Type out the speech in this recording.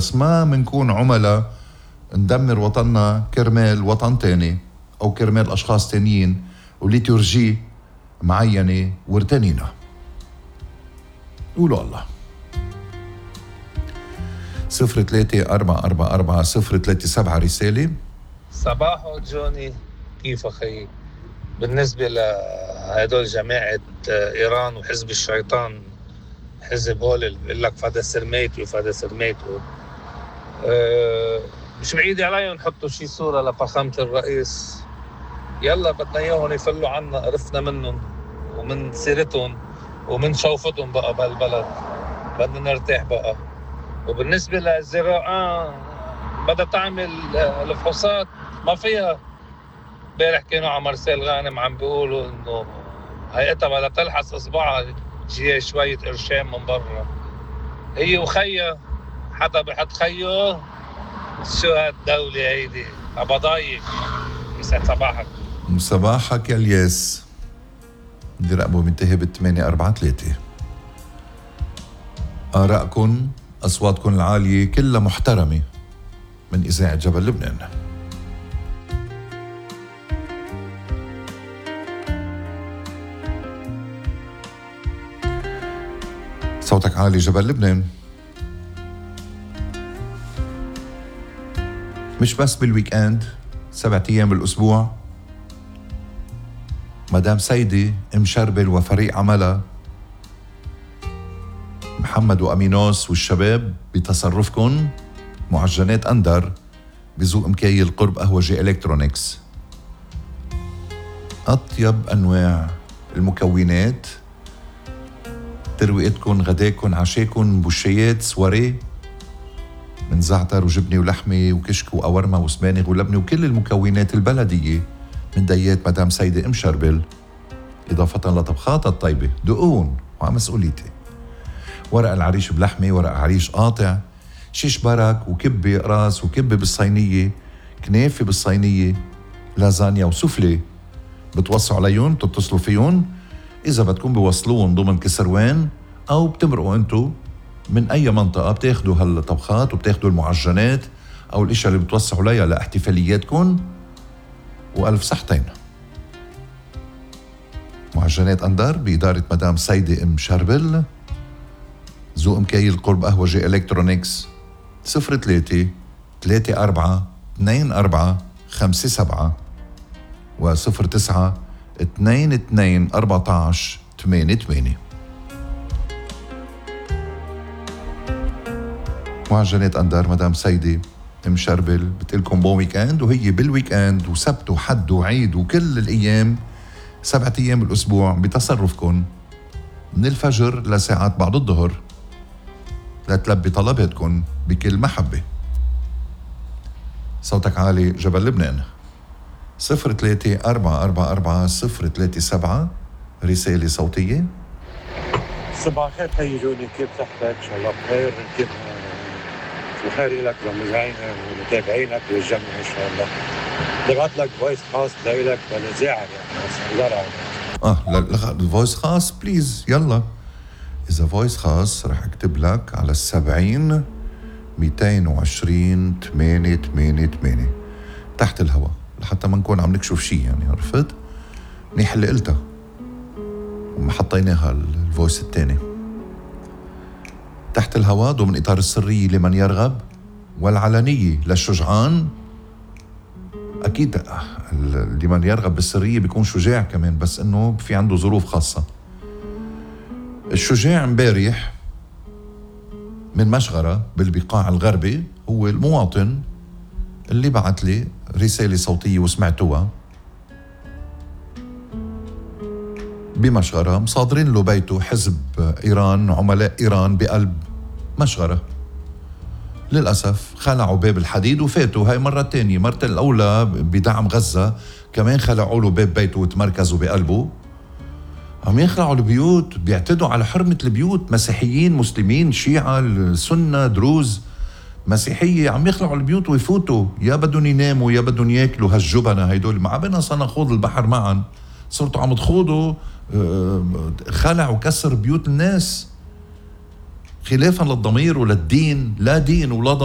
بس ما منكون عملاء ندمر وطننا كرمال وطن تاني أو كرمال أشخاص تانيين وليتورجي معينة وارتنينا. قولوا الله. 03-444-037 رسالة. صباحو جوني، كيف أخي؟ بالنسبة لهدول جماعة إيران وحزب الشيطان، حزب هول اللي بيقول لك فدا سرميت وفدا سرميت، مش بعيد عليهم يحطوا شي صورة لفخامة الرئيس. يلا بدنا إياهم يفلوا عنا، قرفنا منهم ومن سيرتهم ومن شوفتهم بقى بهالبلد، بدنا نرتاح بقى. وبالنسبة للزراعة بدها تعمل الفحوصات ما فيها. امبارح كانوا على مرسال غانم عم بيقولوا انه هيئتها بدها تلحس اصبعها جي شوية قرشين من برا. هي وخيا حدا بحط خيو. شو هالدولة هيدي؟ عبضايق. يسعد صباحك. صباحك يا الياس. بدي رقمه منتهي بال843. آرائكم أصواتكم العالية كلها محترمة من إذاعة جبل لبنان. صوتك عالي جبل لبنان. مش بس بالويكاند، 7 أيام بالأسبوع. مدام سيدي شربل وفريق عملها محمد وأمينوس والشباب بتصرفكن معجنات أندر بذوق مكيل قرب قهوجي إلكترونيكس. أطيب أنواع المكونات، ترويقتكن، غداكن، عشاكن، بوشيات، سواري من زعتر وجبنة ولحمة وكشك وقورمة وسبانغ ولبنة وكل المكونات البلدية من ديات مدام سيدة شربل، إضافة لطبخاتها الطيبة. دقون وعلى مسؤوليتي. ورق العريش بلحمة، ورق عريش قاطع، شيش برك وكبة راس وكبة بالصينية، كنافة بالصينية، لازانيا وسوفلي. بتوصوا عليهم، بتتصلوا فيهم إذا بدكم بوصلوهم ضمن كسروان أو بتمرقوا أنتو من أي منطقة. بتاخدوا هالطبخات وبتاخدوا المعجنات أو الاشياء اللي بتوسعوا ليها لاحتفالياتكم، وألف صحتين. معجنات أندر بإدارة مدام سيدة شربل، ذوق مكيل قرب قهوجي إلكترونيكس. 03-34-24-57 و09-22-14-88. معجنات أندر مدام سيدة شربل بتقلكم بون ويكاند، وهي بالويكاند وسبت وحد وعيد وكل الأيام 7 أيام بالأسبوع بتصرفكن من الفجر لساعات بعد الظهر لتلبي طلباتكن بكل محبة. صوتك عالي جبل لبنان. 03-444-037 رسالة صوتية. صباح الخير حي جوني، كيف صحتك؟ إن شاء الله بخير. كيف الخير لك ومتابعينا ومتابعينك والجميع إن شاء الله. ببعث لك فويس خاص لك للإذاعة يعني. الفويس خاص بليز. يلا إذا فويس خاص رح أكتب لك على 70-220-888 تحت الهواء لحتى ما نكون عم نكشف شي، يعني عرفت؟ منيح اللي قلتها وما حطيناها الفويس التاني تحت الهواء ضمن إطار السرية لمن يرغب والعلنية للشجعان. أكيد لمن يرغب بالسرية بيكون شجاع كمان، بس إنه في عنده ظروف خاصة. الشجاع امبارح من مشغرة بالبقاع الغربي هو المواطن اللي بعت لي رسالة صوتية وسمعتوها. بمشغرة مصادرين له بيته حزب إيران، عملاء إيران بقلب مشغرة. للأسف خلعوا باب الحديد وفاتوا. هاي مرة تانية، مرة الأولى بدعم غزة كمان خلعوا له باب بيته وتمركزوا بقلبه. عم يخلعوا البيوت، بيعتدوا على حرمة البيوت. مسيحيين، مسلمين، شيعة، سنة، دروز، مسيحية، عم يخلعوا البيوت ويفوتوا. يا بدهم يناموا يا بدهم ياكلوا. هالجبنة هيدول مع بنا سنخوض البحر معا. صرتوا عم تخوضوا خلع وكسر بيوت الناس خلافا للضمير وللدين. لا دين ولا ضمير.